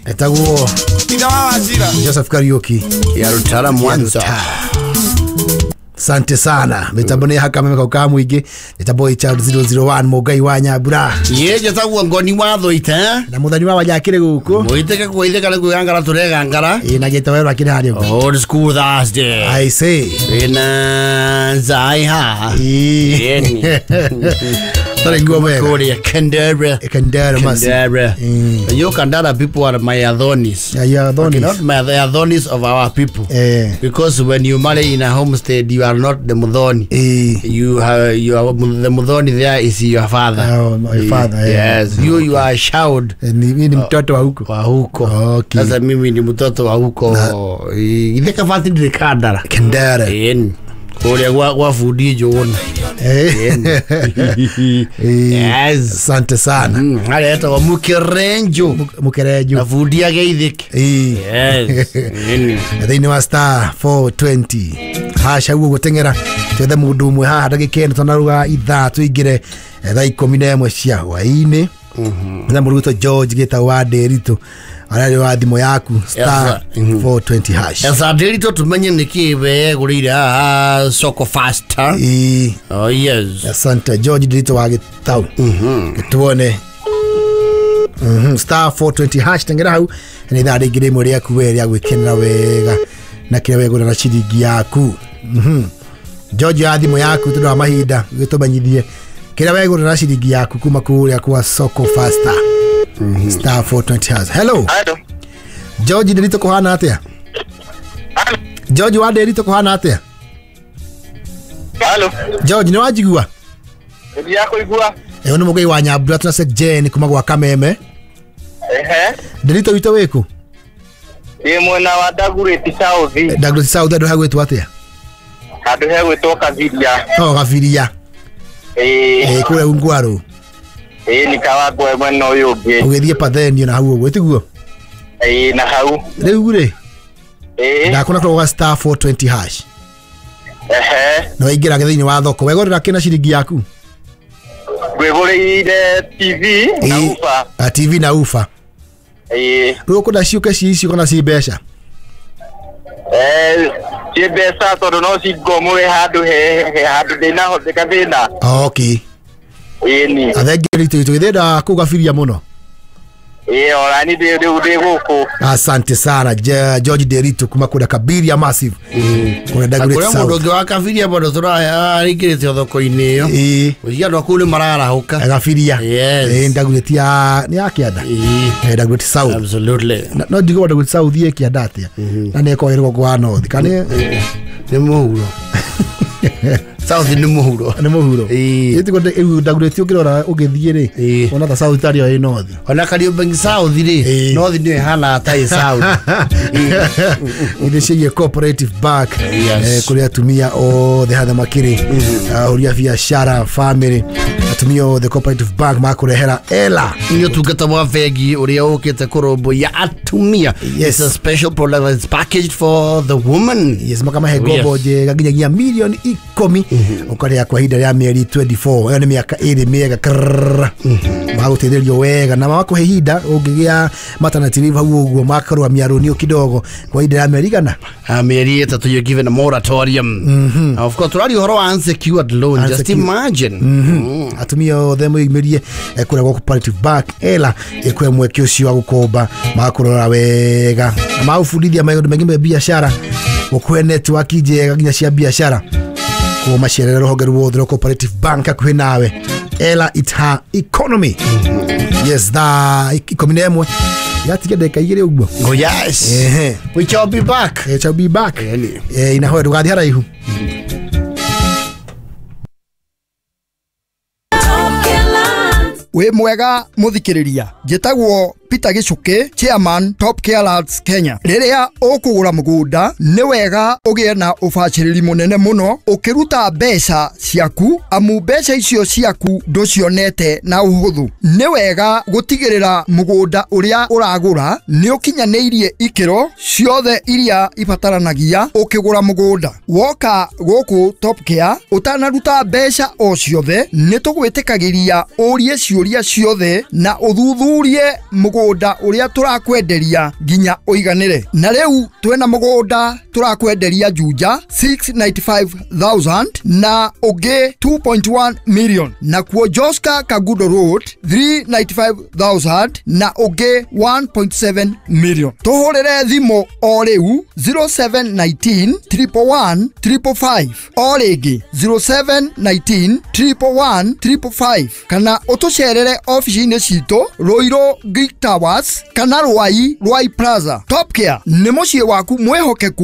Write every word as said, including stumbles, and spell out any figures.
Etagwo Joseph Kariuki ya Rutara Mwanza. Asante sana. Mitambo ni haka meme kauka mwingi. Mitambo H R zero zero one Mugai wa Nyambura. Ye jetagwo ngoni watho ite. Na muthani wa wanyakire guku. Muiteke kuitheka ni kwigangara turegangara. Ĩ na gĩta werũ akĩrĩ harĩa ũguo. Old school Thursday. I say. Ina zai ha. Ĩ. Tare nguo wega. Kuria Kandara. Kandara masi. Kandara. You Kandara people are my Adhonis. Yeah, you are Adhonis. Okay, not my the Adhonis of our people. Eh. Because when you marry in a homestead, you are not the Muthoni. Eh. You have you are the Muthoni there is your father. Oh, my father. Eh. Yes. You you are a child. Eh, ni ni mtoto wa huko. Wa huko. Okay. Sasa mimi ni mtoto wa huko. Itheka fati ndire Kandara. Kandara. Ĩni. Kuria gwa gwa bundi Njũgũna. Eh. Yes. Asante sana. Mm, harĩa etagwo Mũkerenjo. Mukerenjo. Na bundi ageithĩke. Eh. Yes. Ĩni. Thĩinĩ wa star four twenty hash hau gũteng'era twethe mũndũ ũmwe haha ndagĩka ĩno tũnaruga ithaa tũingĩre eh, thaa ikũmi na ĩmwe cia hwaĩ-inĩ na mũndũ gwĩtwo George gĩtagwo wa Ndĩritũ ararĩ wa thimũ yaku star Yes, mhm. four twenty hash. Esa Ndĩritũ tumenye nĩkĩ wegũrĩire haha Soko Faster. Ĩĩ. Oh yes. Asante George Ndĩritũ wa Gĩtau. Gĩtuone. Mhm, star four twenty hash teng'era hau nĩ ithaa rĩngĩ rĩmwe rĩaku we rĩa gwĩkenera wega na kĩrĩa wegũra na ciringi yaku. Mhm. George ya thimũ yaku tondũ wa mahinda gĩtũmenyithie kĩrĩa wegũra na ciringi yaku kuma kũrĩa kwa Soko Faster, star four twenty hash. Hello. Hello. George Ndĩritũ, kũhana atĩa? George wa Ndĩritũ, kũhana atĩa? Hello. George, nĩ wanjigua? Ndia kũigua. Ĩyo nĩ Mũgai wa Nyambura tuna Jane kuma gwa Kameme. Ehe. Ndĩritũ witũ wĩkũ? Ndĩ mwena wa Dagoretti South. Dagoretti South andũ hagwĩtwo atĩa? Handũ hegwĩtwo Kabiria. Oh, Gabiria. Ĩĩ. Eh, kũrĩa Ungwaru. Ĩĩ, nĩ Kawangware mwena ũyũ ũngĩ. Ũgĩthiĩ Pathenio na hau ũguo tiguo? Ĩĩ, na hau. Rĩu rĩ, Ĩĩ. ndakona kũrĩa star four twenty hash Ehe. na waingĩra thĩinĩ wa thoko wegũrĩra kĩ na ciringi yaku? Ngwĩgũrĩire T V na Ĩĩ. ufa. A T V na ufa. Ĩĩ. Rĩu ũkwenda ciũke ci icio kana ci mbeca? Eh, ci mbeca tondũ no cingomũre handũ he he handũ ndĩnahoteka thĩna. Okay. Ĩĩ ni. Athengi ritũ itũ ithenda kũu Gabiria mũno. Ĩĩ, ona ni ndĩ rĩu ndĩ gũkũ. Asante sana Je- George Nderitu kuma kũrĩa Kabiria Massive kũrĩa Dagoretti Kũrĩa mũndũ South. ũngĩ wa Kabiria bado tũraingĩrĩte thoko-inĩ ĩyo. Ĩĩ. Gũciria andũ a kũu nĩ mararahũka. Gabiria. Yes. Ĩĩ, Dagoretti ya nĩ ya kĩanda. Ĩĩ. Eh, Dagoretti South. Absolutely. Na- no njigue Dagoretti South ĩ kĩanda atĩa na nĩ ĩkoragwo ĩ rũgongo wa North kana Nĩ mũhuro. South nĩ mũhuro. Nĩ mũhuro. Ĩĩ. Ĩtiguo rĩu Dagoretti ũngĩrora ũgĩthiĩ rĩ, Ĩĩ. wona ta South tarĩ o ĩ North. Ona Kariobangi South rĩ, Ĩĩ. North nĩyo ĩhanaga ta ĩ South. Ithe ciĩgiĩ Cooperative Bank. Yes. Eh, kũrĩ atumia othe hatha makĩrĩ ahũri a biacara, family, atumia othe, Cooperative Bank makũrehera ela. Nĩ ũtungata wa bengi ũrĩa ũkĩte kũrũmbũiya atumia. Yes. It's a special product that's packaged for the woman. Yes, makamahe Oh, ngombo yes. njega nginyagia milioni ikũmi ũkarĩha kwa ihinda rĩa mĩeri mĩrongo ĩĩrĩ na ĩrĩ. Ĩyo nĩ mĩaka ĩrĩ mĩega krrrr. Magũteithĩrĩrio wega na magakũhe ihinda ũngĩgĩa maternity leave hau ũguo makarũgamia rũniũ kidogo kwa ihinda rĩa mĩeri igana. Uh, mĩeri ĩtatũ, you're given a moratorium. mm -hmm. Of course tũraria ũhoro wa unsecured loan, just Unsecured. imagine. mm. Atumia othe mwĩyumĩrie eh, kũrĩa gwa Cooperative Bank ela ĩkũhe mweke ũcio wa gũkomba, magakũrora wega na magũbundithia maũndũ maingĩ me biacara, gũkũhe network njega nginya cia biacara. Koguo macerere rũhonge ruothe rwa Cooperative Bank hakuhĩ nawe. Ela it her economy. Yes, thaa ikũmi na ĩmwe yatiga ndagĩka igĩrĩ ũguo. Oh yes. Ehe. We shall be back. Eh, shall be back. Ĩni. Eh, inahoya ndũgathiĩ haraihu. Wĩ mwega mũthikĩrĩria, njĩtagwo Peter Gĩcukĩ, chairman Top Care Lands Kenya. Rĩrĩa ũkũgũra mũgũnda nĩ wega ũgĩe na ũbacĩrĩri mũnene mũno ũkĩruta mbeca ciaku, amu mbeca icio ciaku ndũcionete na ũhũthũ. Nĩ wega gũtigĩrĩra mũgũnda ũrĩa ũragũra nĩ ũkinyanĩirie ikĩro ciothe iria ibataranagia ũkĩgũra mũgũnda. Woka gũkũ Top Care ũtanaruta mbeca o ciothe, nĩ tũgwĩtĩkagĩria ũrie ciũria ciothe na ũthuthurie mũgũnda. Mũgũnda ũrĩa tũrakwenderia nginya ũiganĩre. Na rĩu twĩna mũgũnda tũrakwenderia Juja six hundred ninety-five thousand na ũngĩ two point one million, nakuo Joska Kangundo Road three hundred ninety-five thousand na ũngĩ one point seven million. Tũhũrĩre thimũ o rĩu zero seven one nine triple one triple five, o rĩngĩ zero seven one nine triple one triple five, kana ũtũcerere ofici-inĩ citũ Ruiru Greek Towers kana Rwai Rwai Plaza. Top Care nĩ mũciĩ waku mwĩhokeku.